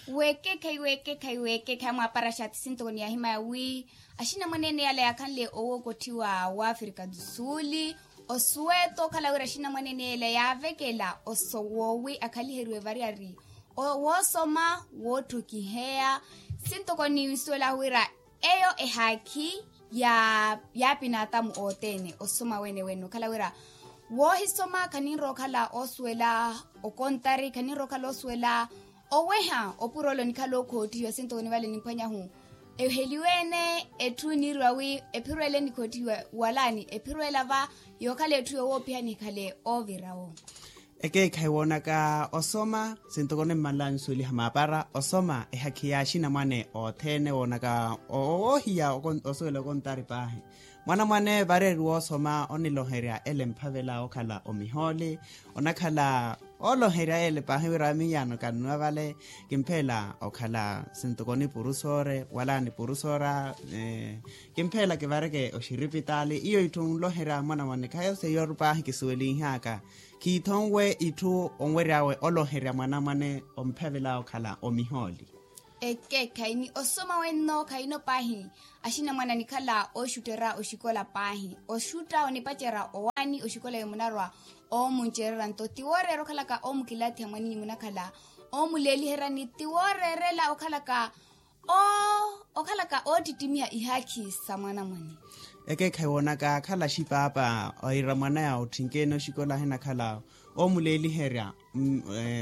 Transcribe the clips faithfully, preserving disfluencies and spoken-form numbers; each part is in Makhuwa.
Weekekhayi weekekhayi weekekhayi mwaapara xaati sintoko ni yaahimaya wi axinamwaneene yala yaakhanle owookottiwa w'afrika du suli osuweto okhala wira axinamwaneene yala yaavekela osowo wi akhaliheriwe variyari woosoma wootthokiheya sintoko ni nsuwela wira eyo ehaakhi yaapina atamu othene osoma wene wene okhala wira woohisoma khaninrowa okhala oosuwela okontari khaninrowa okhala oosuwela oweha opurolo nikhala okhootihiwa sintoko nivale nimphwanyahu eheliwe-ene etthu niiriwa wi ephirwele nikhoottihiwa wala ni ephirwela va yookhala etthu yoowoopihani ekhale oovira-wo. Ekeekhayi woonaka osoma sintoko nimmanlanyu suweliha maapara osoma ehakhi ya axinamwane othene woonaka owoohiya osuwela okontari paahi mwanamwane variyari woosoma oniloherya ele mphavela okhala omihooli onakhala ooloherya ele paahi wira miiyano kannuwa vale kimpheela okhala sintoko ni purusoore wala ni purusoora kimpheela kivareke oxiripitaali iyo itthu onloherya mwanamwane khayo seiyo paahi kisuwelinhaka khiithonwe itthu onwery'awe oloherya mwanamwane omphavela okhala omihooli. Ekeekhayi ni osoma wenno khayino paahi axinamwane anikhala ooxutterya oxikola paahi oxutta onipacerya owaani oxikola yo munarwa oomuncererya nto ti wooreera okhalaka oomukilaathiha mwaninyu munakhala oomuleeliherya ni ti wooreerela okhalaka oo okhalaka oottittimiha ihaakhi sa mwanamwane. Ekeekhayi woonaka akhala axipaapa oira mwanaya otthinkene oxikola ahinakhala oomuleeliherya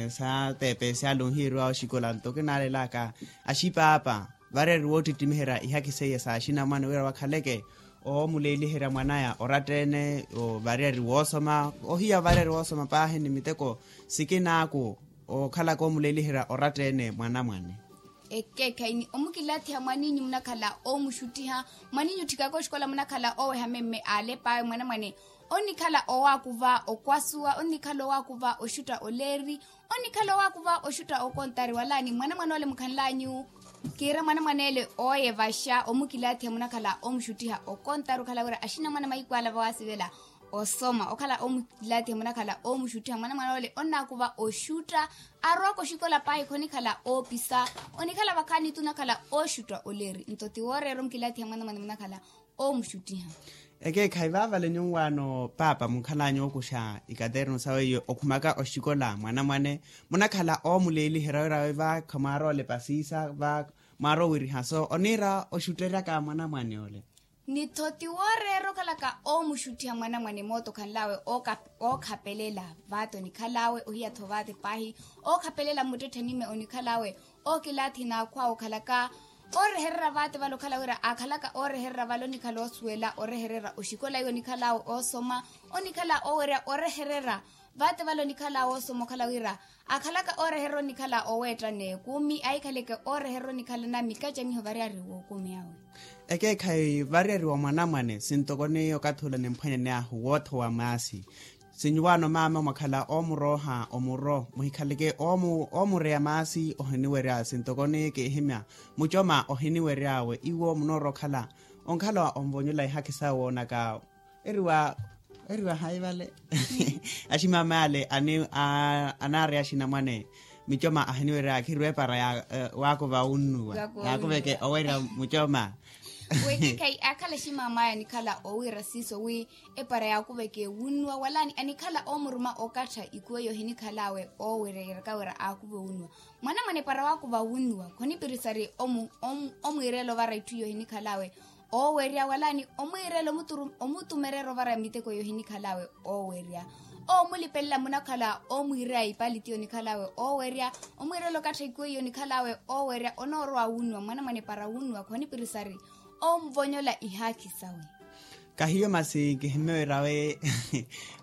saateepe syale onhiiriwa oxikola nto kinaalelaka axipaapa variyari woottittimiherya ihakhi seiya sa axinamwane wira wakhaleke oomuleeliherya mwanaya oratta-ene variyari woosoma ohiya variyari woosoma paahi ni miteko sikinaaku okhalaka oomuleeliherya oratta-ene mwanamwane. Ekeekhayi ni omukilaathiha mwaninyu munakhala oomuxuttiha mwaninyu otthikaka oxikola munakhala ooweha memme aalep'awe mwanamwane onikhala owaakuva okwasuwa onikhala owaakuva oxutta oleeri onikhala owaakuva oxutta okontari wala ni mwanamwane ole mukhanlanyu kiira mwanamwane ele ooyevaxa omukilaathiha munakhala oomuxuttiha okontari okhala wira axinamwane mahiku ala vawaasivela osoma okhala oomukilaathiha munakhala oomuxuttiha mwanamwane ole onnaakuva oxutta arowaka oxikola paahi khonikhala oopisa onikhala vakhaani tunakhala ooxutta oleeri nto ti wooreera omukilaathiha mwanamwane munakhala oomuxuttiha. Ekeekhayi vaavale nyuwaano paapa munkhalanya ookuxa ikaternu sawe iyo okhumaka oxikola mwanamwane munakhala oomuleeliherya wira wi va khamwaaroolepa siisa va mwaarowiriha so oniira oxutteryaka mwanamwane ole. Ni-tho ti wooreera okhalaka oomuxuttiha mwanamwane moota okhanl'awe ookhapelela vaate onikhal'awe ohiya-tho vaate paahi ookhapelela mmuttetthenime onikhal'awe ookilaathi n'akhw'awe okhalaka oorehererya vaate vale okhala wira aakhalaka oorehererya vale onikhala oosuwela orehererya oxikola iwo onikhal'awe oosoma onikhala oowerya orehererya vaate vale onikhala woosoma okhala wira akhalaka ooreherya onikhala oweetta n'ekumi ahikhaleke ooreherya onikhala na mikacamiho variyari w'okumi awe. Ekeekhayi variyari wa mwanamwane sintoko ni okathi ula nimphwanyani ahu woothowa maasi sinyuwaano maama mwakhala oomurooha omuro muhikhaleke oomureya maasi ohiniwerya sintoko ni kiihimya mucoma ohiniwery'awe iwo munoorwa okhala onkhala onvonyola ihakhi sawe woonaka eriwa eriwa hayi vale aximama ale anaari axinamwane micoma ahiniwerya khirwa epara waakuva wunnuwa yaakuveke owerya mucoma. Wekekhayi akhala aximama aya anikhala owiira siiso wi epara yaakuveke wunnuwa wala anikhala oomuruma okattha ikuwo eyo ohinikhal'awe oowerya yeeraka wira aakuve wunnuwa mwanamwane epara waakuva wunnuwa khonipirisari omwiireela ovara itthu iyo ohinikhal'awe oowerya wala ni omwiireela omutumereera ovara miteko yohinikhal'awe oowerya oomulipelela munakhala oomwiireya ipaliti yonikhal'awe oowerya omwiireela okattha ikuwo yonikhal'awe oowerya onoorowa wunnuwa mwanamwane para wunnuwa khonipirisari oomuvonyola ihaakhi sawe. Kahiyo masi kihimewerawe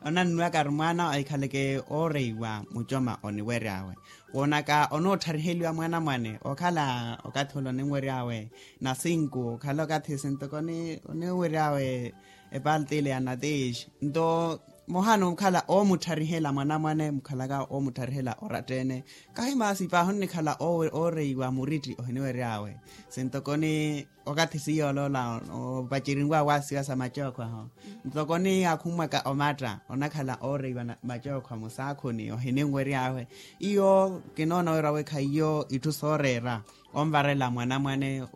onannuwaka ari mwaana ahikhaleke ooreiwa mucoma oniwery'awe woonaka onootthariheliwa mwanamwane okhala okathi ula oninwery'awe na sinku okhala okathi sintoko oniwery'awe epaltile ya natish nto muhano mukhala oomutharihela mwanamwane mukhalaka oomutharihela oratta-ene. Kahi maasi paahi onnikhala ooreiwa muritti ohiniwery'awe. Sintokoni okathi siyooloola opacerinw'awe waasiwa sa macookho aho. Ntokoni akhummwaka omatta onakhala ooreiwa macookho musaakhuni ohininwery'awe. Iyo kinoona wira wekha iyo itthu sooreera onvarela mwanamwane.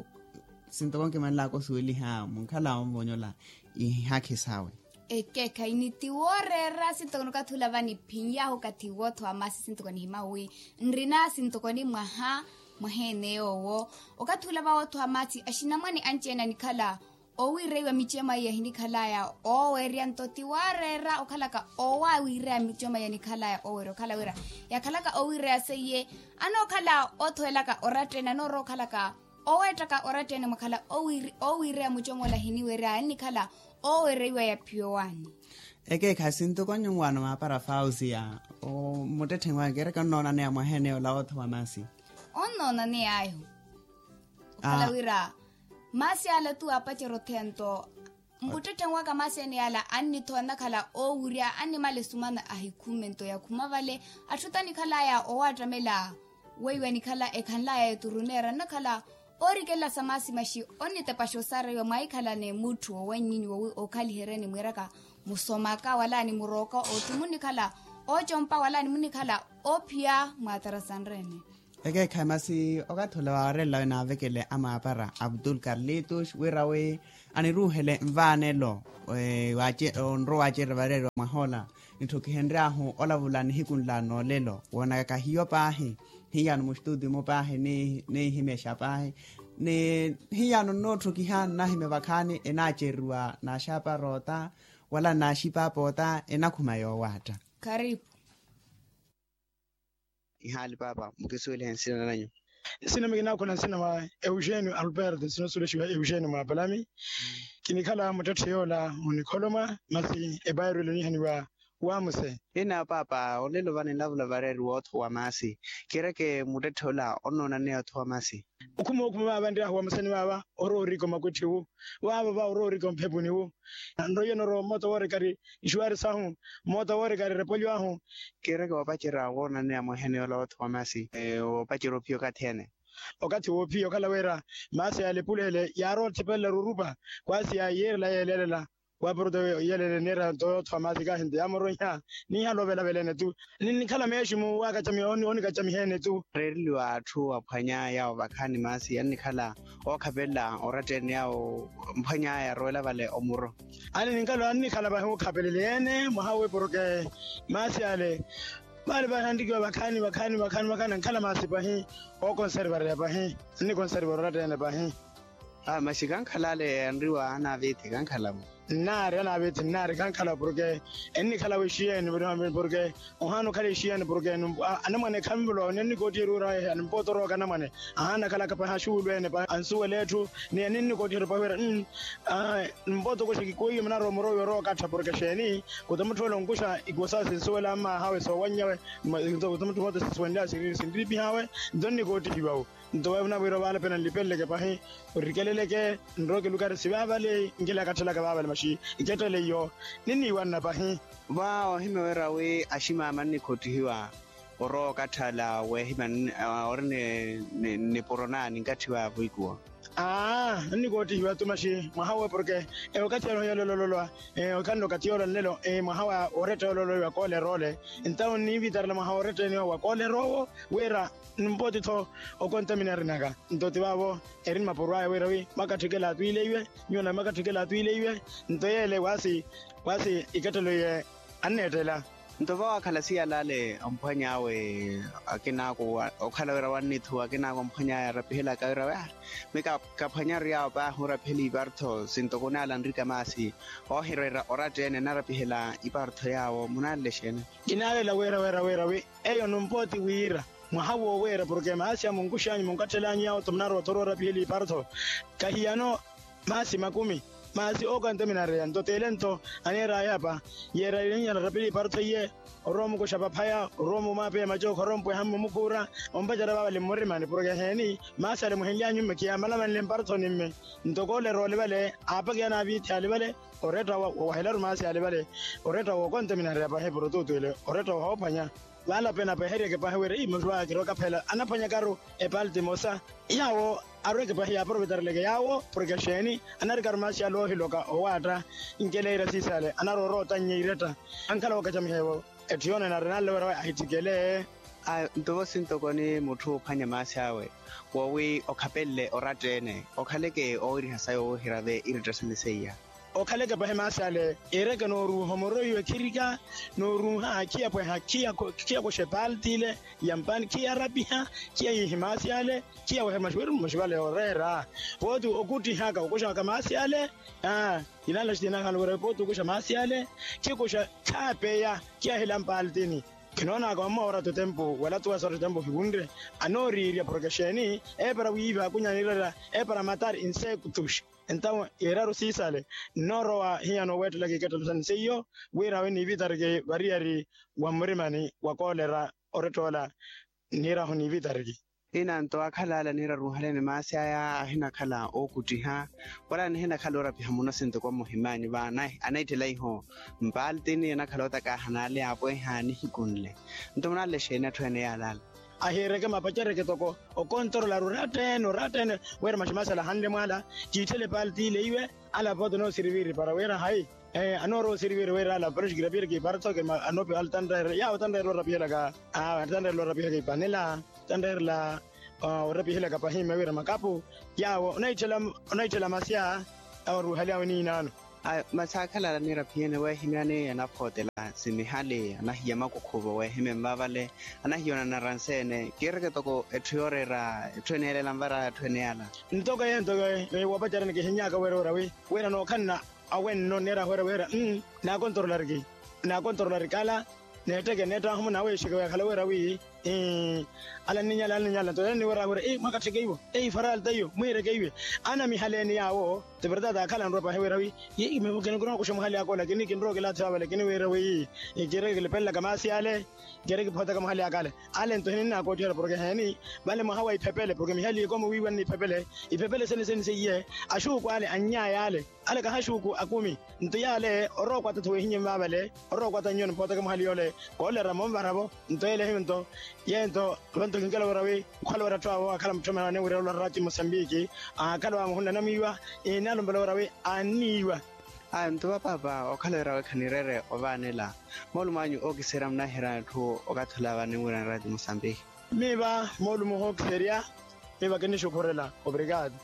Sintoko nkimanlaka osuweliha munkhala onvonyola ihihakhi sawe. Ekeekhayi ni tiwooreera sintoko ni okathi ula vaniphinyahu okathi wootho wa maasi sintoko nihimyahu wi nrina sintoko ni mwaha mwaheene yoowo. Okathi ula vawootho wa maasi axinamwane anci-ene anikhala owiireiwa miceema iya hinikhalaya oowerya nto tiwooreera okhalaka owawiireya miceema iya nikhalaya oowerya okhala wira yakhalaka owiireya seiye anookhala othowelaka oratta-ene anoorowa okhalaka oweettaka oratta-ene mwakhala owiireya mucomola hiniwerya annikhala owereiwa yaphiyowaani. Ekeekhayi sintukonyo nwaano maapara fausiya. Muttetthenwaka ereke onnoonaneya mwaheene yoola ootho wa maasi. Onnoonaney'ayo okhala wira maasi ala tu aapacerya otheya nto. Muttetthenwaka maasi ene yaala annithowa nnakhala oowirya annimala esumana ahikhumme nto yakhuma vale atthu tanikhalaya owaattamela weiwa nikhala ekhanlaya eturuneera nnakhala oorikelela sa maasi maxi onnitepaxa osareiwa mwaahikhalane mutthu owannyinyi wowi okhaliheryeni mwiiraka musomaka wala ni murooka otthu munnikhala oocompa wala ni munnikhala oophiya mwaatarasanrene. Ekeekhayi masi okathi ula waawarelelawe naavekele amaapara abdul karlitus wira wi aniruuhele nvaanelo onrowa waacerya vareeriwa mwaha ola. Nitthokihenry'ahu olavula nihiku nla noolelo woonaka kahiyo paahi nhiyano mustuuti-mu paahi nihimexa paahi ni nhiyano nnootthokiha nnahimya vakhaani enaaceriwa naaxaapa roota wala naaxipaapa ota enakhuma yoowaatta. Karipu. Ihaali paapa mukisuwelihe nsina nanyu. Nsina mikinakhula nsina mwa eugenio alberto nsina osulexiwa eugenio mwa palami. Kinikhala muttetthe yoola munikholomwa masi epairwelo niihaniwa wamuse. Ina paapa olelo vano enlavula vareeriwa ootho wa maasi kireke muttetthe ola onnoonaneya ootho wa maasi. Okhuma okhuma vaava nryahu wamusani vaava orowa orika omakwetthi wu vaava vaava orowa orika omphepuni wu. Nroiye norowa mmota woorekari nxuwari sahu mmota woorekari erepolyo ahu. Kireke woopacerya woonaneya mweehene yoola wootho wa maasi woopacerya ophiya okathi ene. Okathi woophiya okhala wira maasi yalepuleele yaarowa otthipelelaru orupa kwaasi yaayiirela yeeleelela. Waaporota yeeleele niira nto yootho wa maasi kahinti yaamuroiha niihala ovelavela ene tu. Ninnikhala meeximu waakacamiha onikacamiha ene tu. Reereliwa atthu aphwanya yaawo vakhaani maasi yannikhala ookhapelela oratta ene yaawo mphwanya yaarowela vale omuro. Ani ninkhala annikhala pahi ookhapelela ene mwaha owe porke maasi ale vale pahi anrikiwa vakhaani vakhaani vakhaani vakhaani ankhala maasi pahi. Ookonservareya pahi annikonservare oratta ene pahi. Masi kankhala ale anriwa anaavithi kankhalavo. Nnaari anaavithi nnaari kankhalavo porke ennikhalavo exiyeni porke ohaana okhala exiyeni porke anamwane khanvolowa nennikoottiheriwa oraweha nimpoota orooka anamwane. Ahaana akhalaka pahi axuwuluwene pahi ansuwela etthu ni enninnikoottiherya pahi wira. Nimpoota okoxa kikwiiyo munarowa murowa yorowa okattha porke exeeni kutamutthowela onkuxa ikuwo sawe sinsuwela mmaahawe soowannyawe. Kutamutthowela sinsuwela sinriipihawe nto nnikoottihiwawo. Nto weyo munavwira ovaala pena nlipeleleke pahi orikeleleke nrooke lukari sivaavale. Nkilakatthelaka vaavale maxi ikettele iyo ninniiwanna pahi. Va ohimya wira wi aximaama nnikhoottihiwa orowa okatthala weehimya ori nipuro naani nkatthiwa vwiikuwo. Aa nnikoottihiwa tu maxi mwaha owe porke okathi yoola nlelo okhanle okathi yoola nlelo mwaha wa oretta yoola oloiwa koolerole. Ntawo nniivitarela mwaha wa oretta ene wa kooleroowo wira nimpooti-tho okontaminarinaka. Nto ti vaavo eri ni mapuro aya wira wi makatthikela atwiileiwe nyuwo nave makatthikela atwiileiwe. Nto yeele waasi waasi ikettelo iye anneettela. Nto vawaakhala siyalale omphwany'awe akinaako okhala wira wannithuwa akinaako omphwany'aya arapihelaka wira wi aa mi kaphwanyaru yaawo paahi orapihela ipartho sintoko onaala nrika maasi oohireera oratta ene anarapihela ipartho yaawo munaalela exeene? Kinaalela wira wira wira wi eyo numpooti wira mwaha wooweera porke maasi a munkux'anyu munkattel'anyu yaawo-tho munarowa-tho orapihela ipartho. Kahiyano maasi makumi Maasi ookonteminareya nto t'ele nto aniira ayapa yeeralilenyi anarapile iparotho iye. Orowa omukuxa paphaya orowa omumaapeya macookha orowa ompweha mmumukuura ompacerya vaavale mmurimani porke heeni maasi ale muhinlyanyu mme khiyamalamanle mparothoni mme. Nto koolera ole vale aapakiya naaviithi ale vale oretta wowahelaru maasi ale vale oretta wookonteminareya pahi porotutwile oretta woophwanya. Vaalape napeheryeke pahi wira ii muthu aakirwa okaphela anaphwanyakaru epalti emosa. Yaawo arweke pahi yaaprovetareleke yaawo porke xeeni anarikaru maasi ale oohiloka owaatta. Nkeleira siisale anaroora otannya iretta ankhala wookhacamiha ewo. Etthu yoonene arinanle wira we ahitthikele. Nto vosi ntoko ni mutthu oophwanya maasi awe woowi okhapenle oratta-ene okhaleke oowiriha sayi owoohirave iretta sene seiya. Okhaleke pahi maasi ale iireke nooruuha omoro iwe khirika nooruuha khiyapweha khiyakoxa epalti ile ya mpaani khiyarapiha khiyahihi maasi ale. Khiyawehe maxuwiri mmaxi vale oreera pooti okuttihaka okuxaka maasi ale. Aa inanla xitiinahano wira pooti okuxa maasi ale khikuxa khaapeya khiyahila mpaltini. Khinoonaka wammoora totempu wala tuwa sa totempu ohivunre anooriirya porke xeeni eepara wiiva akunya anirerya eepara matari insektus. Entawe yeeraru siisale nnoorowa hiyana oweettelaka ikettelo sani seiyo wira awe niivitariki variyari wa mmurimani wa koolera. Oretta ola niirahu niivitariki. Ina nto akhala ale aniira aruuhaleni maasi aya ahinakhala ookuttiha wala anihinakhala oorapiha muno sintoko mmuhimanyu va anaitthela iho mpaltini anakhala ootakaahana ale aapweha nihiku nle. Nto munanle xeeni atthu ene yaale ale ahiireke mapacereke toko okontorola oratta-ene oratta-ene wira maxi maasi ale ahanle mwaala kiitthele epalti ile iwe. Ala pooti anoosiriviri para wira hayi anoorowa osiriviri wira ala pero xikirapiyereke iparotho anoopiwa ale tanreerela yaawo tanreerela orapihelaka. Awe tanreerela orapihelaka ipanela tanreerela orapihelaka pahimme wira makapu. Yaawo onaitthela maasi aya awaruuhali awe niinaano. Masi akhala ala aniira phiyene weehimyani anaphootela simihali anahiya makukhuvo weehimya envaavale anahiya onanara nseene kiireke toko etthu yooreera etthu ene yaale elanvaraya atthu ene yaala. Ntoko ye ntoko ye woopacerani kihinnyaka wira wira wi wira nookhanna awenno nneerahu wira wira naakontorolariki naakontorolariki ala. Neetteke neettahu munaaweexeke weekhala wira wi ala nninyala ala nninyala nto yala niwira wira mwakattheke iwo ei faralta iyo mwiireke iwe. Anamihaleeni yaawo ti verdade akhala anrowa pahi wira wi kinrowa okuxa muhali akoola kini kinrowa okilaatha vale kini wira wi kiireke kilipelelaka maasi ale. Kiri kiphootaka muhali akale ale nto hininnaakoottihela porke heeni vale mwaha wa iphepele porke mihali ikomo wiiwanne iphepele iphepele sene sene seiye. Axuuku ale annyaya ale ale kahaxuuku akumi. Nto yaale orowa okwatatha weehinye mmaavale orowa okwata nnyoni mphootaka muhali yoole koolera monvara-vo. Nto yeele hiyo nto yeento vanto kinkela wira wi okhala wira atthu awo akhala mutthomana aniwirela olwa rati mosambiki akhala waamuhunla anamwiiwa. Inalumpela wira wi anniiwa. Aya nto vapaapa okhala wira wekha nireere ovaanela moolumo anyu ookiserya munahiira atthu okathi ola vaaniwira ni rati mosambiki. Miiva moolumo hookiserya miiva kinixukhurela obrigado.